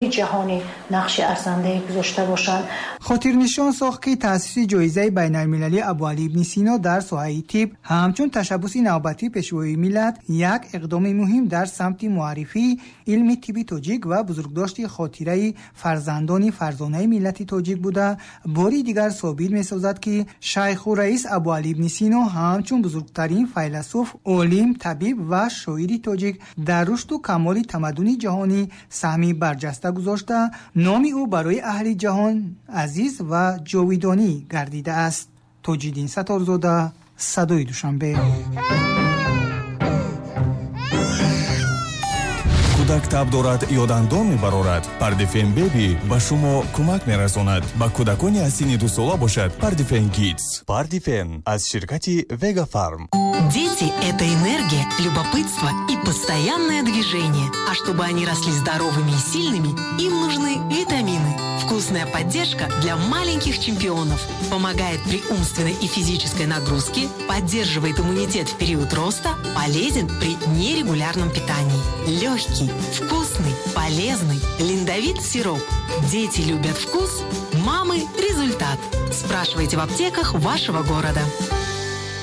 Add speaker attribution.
Speaker 1: Ҷаҳонӣ нақши арзандае гузошта бошанд.
Speaker 2: Хотирнишон сохт, ки таъсиси ҷоизаи байналмилалии Абуалӣ ибни Сино дар соҳаи тиб ҳамчун ташаббуси навбатии Пешвои миллат як иқдоми муҳим дар самти муаррифии илми тибби тоҷик ва бузургдошти хотираи фарзандони фарзонаи миллати тоҷик буда, бори дигар собит месозад, ки шайху раис Абуалӣ ибни Сино ҳамчун бузургтарин файласуф, олим, табиб ва шоири тоҷик дар рушду камоли тамаддуни ҷаҳонӣ саҳми барҷаста гузошта, номи ӯ барои аҳли ҷаҳон азиз ва ҷовидонӣ гардидааст. Тоҷиддин Сатторзода, Садои Душанбе.
Speaker 3: Кӯдак таб дорад ё дандон мебарорад, Пардифен Беби ба шумо кӯмак мерасонад. Ба кӯдакони аз синни 2 сола бошад, Пардифен Кидс. Пардифен аз ширкати Вега Фарм.
Speaker 4: Дети – это энергия, любопытство и постоянное движение. А чтобы они росли здоровыми и сильными, им нужны витамины. Вкусная поддержка для маленьких чемпионов. Помогает при умственной и физической нагрузке, поддерживает иммунитет в период роста, полезен при нерегулярном питании. Легкий, вкусный, полезный. Линдовит сироп. Дети любят вкус, мамы – результат. Спрашивайте в аптеках вашего города.